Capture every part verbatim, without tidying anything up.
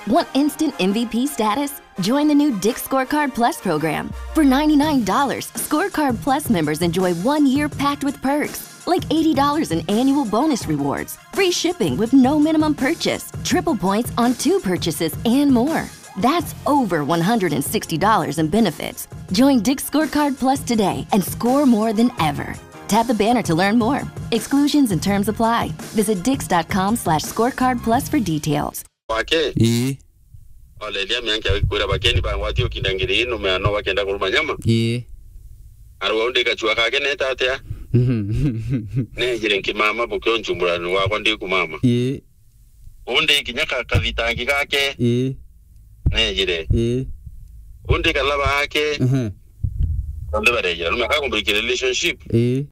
Want instant M V P status? Join the new Dick's Scorecard Plus program. For ninety-nine dollars, Scorecard Plus members enjoy one year packed with perks, like eighty dollars in annual bonus rewards, free shipping with no minimum purchase, triple points on two purchases, and more. That's over one hundred sixty dollars in benefits. Join Dick's Scorecard Plus today and score more than ever. Tap the banner to learn more. Exclusions and terms apply. Visit dicks.com slash scorecard plus for details. Wake. Ii. Oleria mianke akwira bakeni bangwati ukinda ngiri ino meano bakenda kuruma nyama. Ii. Arwa undi kachua kake neta atia? Mhm. Nejire nkimama bukio nchumburani wakwa ndi kumama. Ii. Undi kinya ka-, kathitangi gake. Ii. Nejire. Ii. Undi kalaba ake. Mhm. Undi barejira. Rume akakumbirikira relationship. Ii.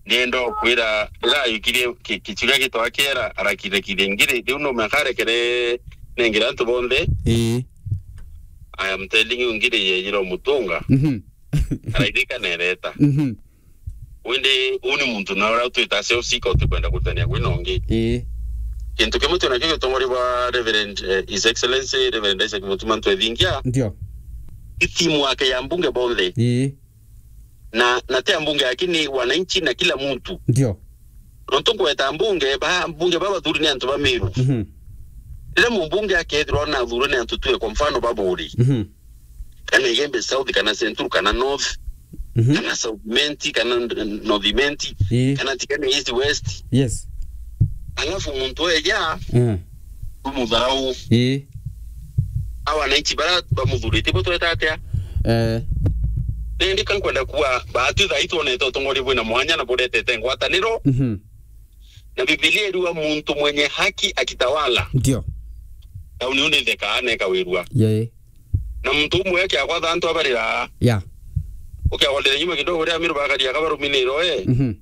Nienda kwira, ira yukirie ki-, kichiga gitwa kiera, arakire kire ngiri. Riu no mekarekere nengire antu bonthe. Ii. I am telling you, ngiri yejira umutunga. Mhm. Araithika nereta. Mhm. Wende, uni muntu na ura twita sio sika utikwenda kutania gwina ungi. Ii. Kintu kimwe tu nakio gitongoria bwa Reverend, eh, His Excellency Reverend Isaac Mutuma Ntwethingia. Ndio. Ni timu yake ya mbunge bonthe. Ii. Na, na ti ya mbunge, lakini wananchi na kila mtu. Ndio. Nontu ngweta mbunge, ba, mbunge baba bathuri ni antu ba Meru. Mhm. Riria mumbunge akethirwa na athurwe ni antu tue, kwa mfano, baburi. Mhm. Kana Igembe South, kana Central, kana North, mhm, kana South Imenti, kana N-, North Imenti, ii, kana Tigania East West. Yes. Alafu muntu eja, mm, umutharau. Ii. A wananchi bara bamuthurite bo tweta atia? Eh. Nindi kankwenda kuwa, baatu thaa ii twonete utongoria bwina mwanya na buretete ngwataniro. Mhm. Na Bibilia iriuga, "Muntu mwenye haki akitawala, ndio, tauni iu nithekaa na ikawirua." Yee. Na muntu umwe akiagwatha antu abarira. Ya. Ukiagwatira nyuma kidogo, ria Amiru bakaria kabaruminiro, eh. Mhm.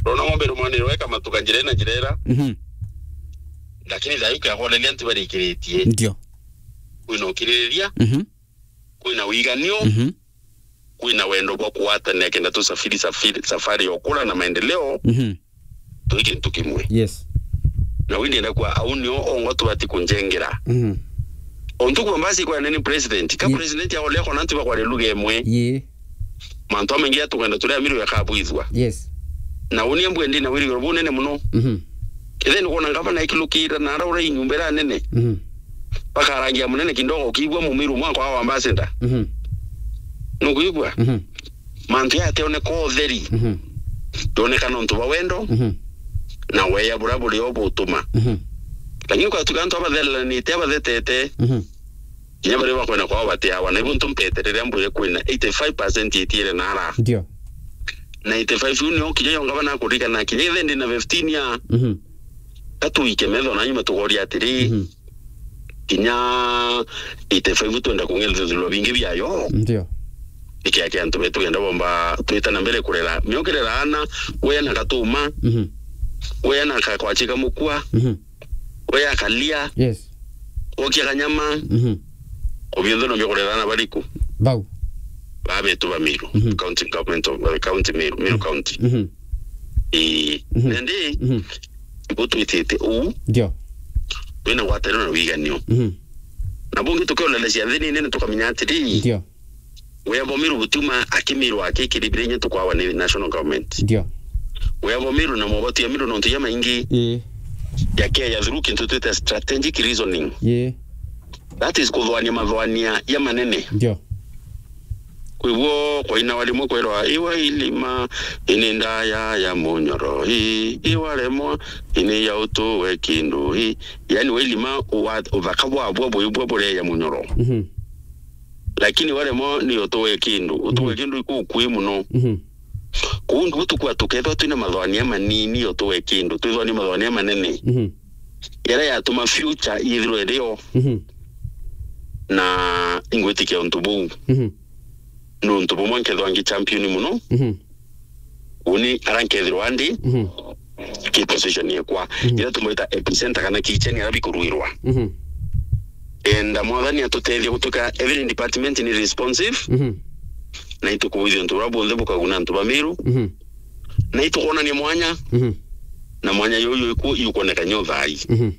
Rona ng'ombe irumaniro, eh, kamatuka njira ina njira ira. Mhm. Lakini thaa ii ukiagwatira antu barikiritie. Ndio. Kwina ukiririria, mhm, kwina wiganio, mhm, kwina wendo bwa kuwatanira kenda tusafiri safiri, safari ya ukura na maendeleo. Mhm. Twi kintu kimwe. Yes. Na wi ndienda kwa au nio ongo tubati kunjengera. Mhm. Ontu kwa mbasi kwa nene president. Ka, ye, president ya ole kona antu bakwaria lugha imwe. Ye. Mantu amaingi atugenda turia Amiru yakabwithwa. Yes. Na uni ambwe ndi na wirigiro bunene muno. Mhm. Kethe ni kuona ngavana ikilukira na ara ura inyumba ira nene. Mhm. Bakarangia munene kidogo, ukiigua Mumiru mwaka wa ambassador. Mhm. Nukuigua? Mhm. Mantu yateoneka utheri. Mhm. Ndoneka nontu bwa wendo, mhm, na weya buria buri o butuma. Mhm. Lakini kwatuka antu abathereranite, abathetete, mhm, kinya baria bakwenda kwao batiawa. Na ibu ntu mpeterere mbwire kwina eighty-five percent itiire nara. Ndio. Na eighty-five iu nio kinya yo ngavana akurikana kinya ithe ndi na fifteen ya. Mhm. Ka tuike metho na nyuma tugoria atiri, mhm, kinya eighty-five twenda kung'ethithirwa bingi biayo. Ndio. Ikia kia antu betu genda bomba twita na mbere kurera. Miokirera ana, weya na gatuma, mhm, weya na kakwachika mukua, mhm, weya kalia, yes, okia kanyama, mhm, obionthe no biokurera ana bariku. Bau. Ba betu ba Meru, mhm, county government of, uh, county Meru, Meru, mhm, county. Mhm. Ii, mhm, nandi, mhm, ibo twitite uu. Ndio. Twina ngwataniro na wiganio. Mhm. Na bungi tukionelecia nthini nene tukamenya atiri. Ndio. Weya bwa Meru butiuma aki Meru aki kiribire inya tukwawa ni national government. Ndio. Weya bwa Meru na mobatu ya Meru nontu ya maingi. Ii. Yakeya through kintu twita strategic reasoning. Ii. That is kuthwania mathwania ya manene. Ndio. Kwiguo kwainawa rimwe kwerwa, "Iwa ilima, ini ndaya ya munyoro, i, iwa remwa, ini ya utu we kindu, i." Yani, wa ilima, wa, uthaka bwabwa bwibwa bureya munyoro. Mhm. Lakini wa remwa ni utu we kindu. Utu we, mhm, kindu ikukui muno. Mhm. Kuu ndugu tukua tukethwa twina mathwania manini utu we kindu. Twithwa ni mathwania manene. Mhm. Yaria yatuma future yithirwe irio. Mhm. Na ingwitikia untu buu. Mhm. Ni untu bumwe nkethwa ngi champion muno. Mhm. Uni ara nkethirwa ndi, mhm, ki position yekwa. Mhm. Ira tumwita epicenter kana kicheni ara bikurwirwa. Mhm. Enda Mwathani atutethie gutuika every department ni responsive. Mhm. Na itukuithia untu buria bunthe bukaguna antu ba Meru. Mhm. Na itukwonania mwanya. Mhm. Na mwanya yuyu iku-, iukwoneka nyo thai. Mhm.